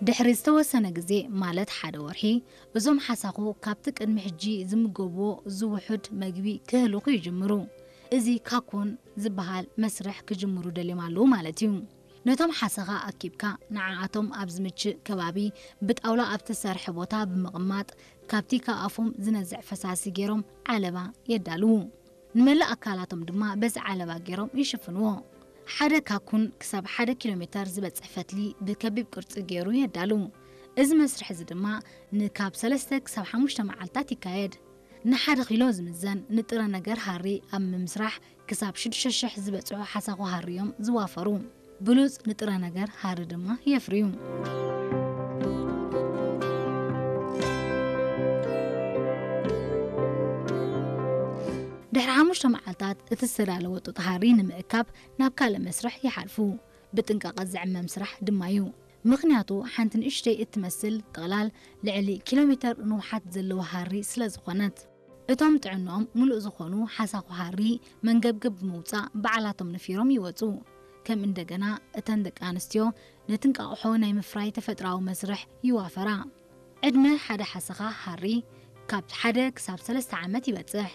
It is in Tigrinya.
ድሕሪ ዝተወሰነ ግዜ፣ ማለት ሓደ ወርሒ፣ እዞም ሓሳኹ ካብቲ ቅድሚ ሕጂ ዝምገብዎ ዝውሑድ መግቢ ክህልኹ ይጅምሩ። እዚ ካኩን ዝበሃል መስርሕ ክጅምሩ ደልዮም ኣለዉ ማለት እዩ። ነቶም ሓሰኻ ኣኪብካ፣ ንዓኣቶም ኣብ ዝምችእ ከባቢ ብጣውላ ኣብ ተሰርሐ ቦታ ብምቕማጥ፣ ካብቲ ካብ ኣፎም ዝነዝዕ ፈሳሲ ገይሮም ዓለባ የዳልዉ። ንመላእ ኣካላቶም ድማ በዚ ዓለባ ገይሮም ይሽፍንዎ። ሓደ ካኩን ክሳብ ሓደ ኪሎ ሜተር ዝበጽሕ ፈትሊ ብከቢብ ቅርጺ ገይሩ የዳልዉ። እዚ መስርሕ እዚ ድማ ንካብ ሰለስተ ክሳብ ሓሙሽተ መዓልታት ይካየድ። ንሓደ ኪሎ ዝምዘን ንጥረ ነገር ሃሪ ኣብ ምምስራሕ ክሳብ ሽዱሽተ ሽሕ ዝበጽሑ ሓሳኹ ሃሪ እዮም ዝዋፈሩ። ብሉጽ ንጥረ ነገር ሃሪ ድማ የፍርዩ። ድሕሪ ሓሙሽተ መዓልታት እቲ ዝተዳለወ ጡጥ ሃሪ ንምእካብ ናብ ካልእ መስርሕ ይሓልፉ። ብጥንቃቐ ዝዕመም ስራሕ ድማ እዩ። ምኽንያቱ ሓንቲ ንእሽተይ እትመስል ጥቕላል ልዕሊ ኪሎ ሜተር ንውሓት ዘለዎ ሃሪ ስለ ዝኾነት። እቶም ጥዕንኦም ምሉእ ዝኾኑ ሓሳኹ ሃሪ መንገብገብ ብምውጻእ ባዕላቶም ነፊሮም ይወጹ። ከም እንደገና እተን ደቂ ኣንስትዮ ነቲ እንቃቑሖ ናይ ምፍራይ ተፈጥራዊ መስርሕ ይዋፈራ። ዕድመ ሓደ ሓሰኻ ሃሪ ካብ ሓደ ክሳብ ሰለስተ ዓመት ይበጽሕ።